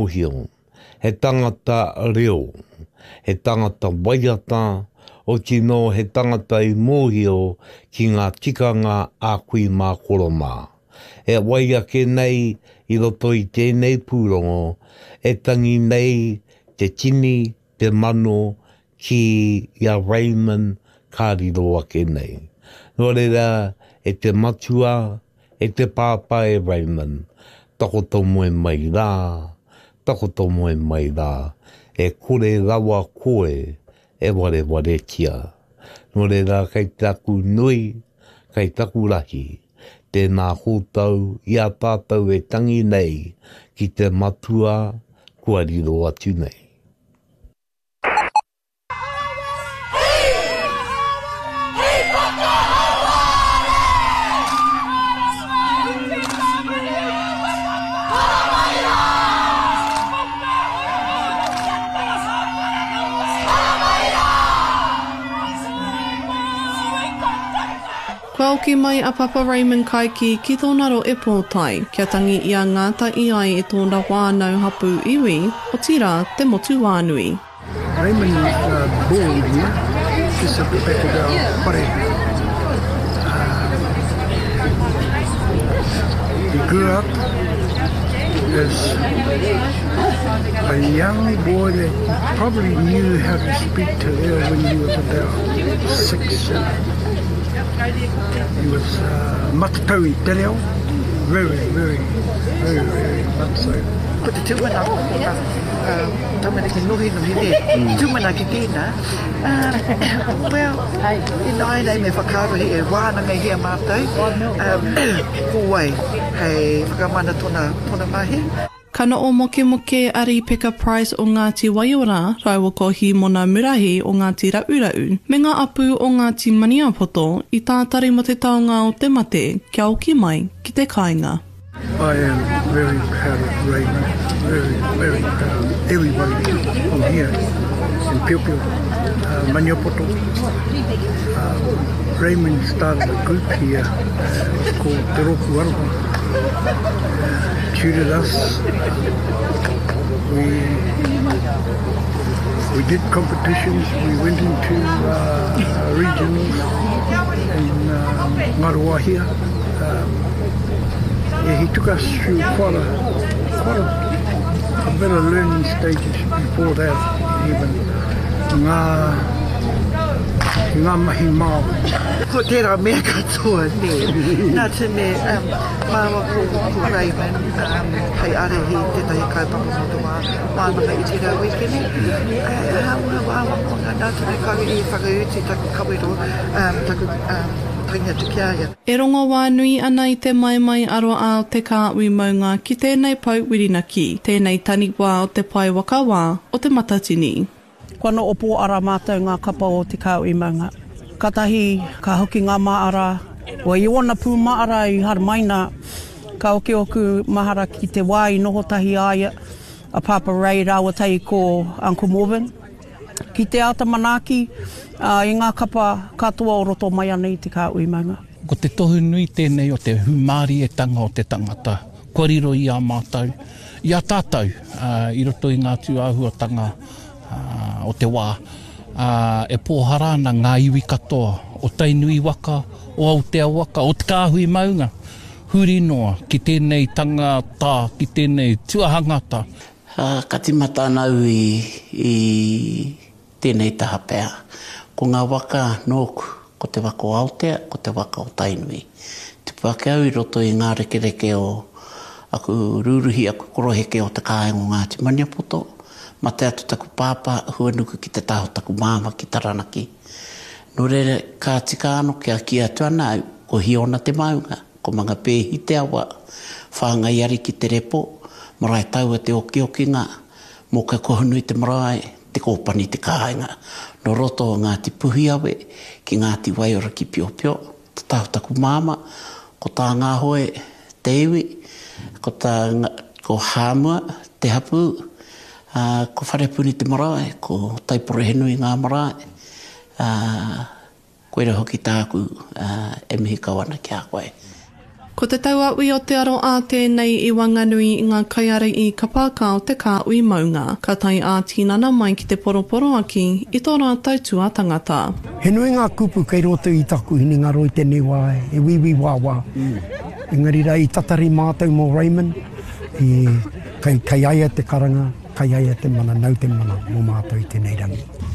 Mōhio, he tangata reo, he tangata waiata, otinō he tangata i mōhio ki ngā tikanga a kui mā koro mā. E wai ake nei i roto i tēnei pūrongo e tangi nei te tini, te mano ki i a Raymond ka riro ake nei. Nō reira, e te matua, e te pāpā e Raymond, takoto moe mai rā, takoto moe mai rā, e kore rawa koe e warewaretia. Nō reira, kei taku nui, kei taku rahi, tēnā koutou i a tātou e tangi nei ki te matua kua riro atu nei. Kua oki mai a Papa Raymond Kaiki ki tōna rohe pōtae, kia tangi i a Ngāta i ai e tōna whānau hapū iwi, otirā te motu whānui. Raymond was born here, just at the back of our whare. He grew up as a young boy that probably knew how to speak te reo when he was about six, seven. He was uh, matatau i te reo, very, very, very, very much so. Ko te tūmanako ko ngā uh, tamariki nohinohi nē, mm. tūmanaki tēnā. Uh, well, ināianei me whakaarohi e wānangahia mātou, um, ko wai hei whakamana tōna, tōna mahi. Ka noho mokemoke a Rīpeka Price o Ngāti Waiora rāua ko Hīmona Murahi o Ngāti Ra'ura'u me ngā apu o Ngāti Maniapoto i tātari mō te taonga o te mate kia oki mai ki te kāinga. I am very proud of Raymond, very, very proud of everybody from here in Piopio, Maniapoto. Raymond started a group here called Te Rōpū Aroha. Tutored us. We, we did competitions. We went into uh, regionals in um, Ngaruawahia. Um, yeah, he took us through quite a, quite a, a bit of learning stages before that even. Ngā, ngā mahi Māori. Ko tērā mea katoa, nē. Nā te mea, um, Māua ko, ko Raymond um, hei ārahi i tētahi kaupapa mō te wā wānanga i tērā wīkene. Hāunga wāwangawanga nā te mea kāore i whakautu taku kawero, um, taku um, tangi atu ki a ia. E rongo wā nui ana i te maimai aroā o te kāhui maunga ki tēnei pou whirinaki, tēnei taniwā o te pae waka wā o Te Matatini. Kua noho pōara mātou ngā kapa o Te Kāhui Maunga. Katahi ka hoki ngā māra, o i ōna pū māra i haramaina, ka oki ōku mahara ki te wā i noho tahi a ia, a Pāpā Ray rāua tahi ko Uncle Morvin, ki te āta manaaki i ngā kapa katoa o roto mai ana i Te Kāhui Maunga. Ko te tohu nui tēnei o te hūmārietanga o te tangata kua riro i a mātou, i a tātou i roto i ngā tūāhuatanga o te wā, e pōhara ana ngā iwi katoa o Tainui waka, o Aotea waka, o Te Kāhui Maunga, huri noa ki tēnei tangata, ki tēnei tuahangata. Ka tīmata ana au i tēnei taha pea. Ko ngā waka nōku, ko te waka o Aotea, ko te waka o Tainui. Tupu ake au i roto i ngā rekereke o aku rūruhi, aku koroheke o te kāinga o Ngāti Maniapoto. Mate atu taku pāpā, huanuku ki te taha o taku māmā ki Taranaki. Nō reira, ka tika ano kia kī atu ana au, ko Hiona te maunga, ko Mangapēhi te awa, Whāngai Ariki te repo, Maraetaua te okiokinga, Mōkai Kohunui te marae, Te Kōpani te kāinga. Nō roto o Ngāti Puhiawe ki Ngāti Waiora ki Piopio, te taha o taku māmā, ko tā Ngāhoe te iwi, ko tā ko Hāmua te hapū, ā, ko Wharepuni te marae, ko Taiporohenui ngā marae, ā, Koira hoki tāku e mihi kau ana ki a koe. Ko te tauaui o te aroā tēnei i waenganui i ngā kaiārahi kapa haka o te kāhui maunga. Ka tae ā-tinana mai ki te poroporoaki i tō rātou tuatangata. He nui ngā kupu kei roto i taku hinengaro i tēnei wā, he wīwī wāwā. Engari rā, i tatari mātou mō Raymond, i, kei, kei a ia te karanga, kei a ia te mana, nau te mana mō mātou i tēnei rangi.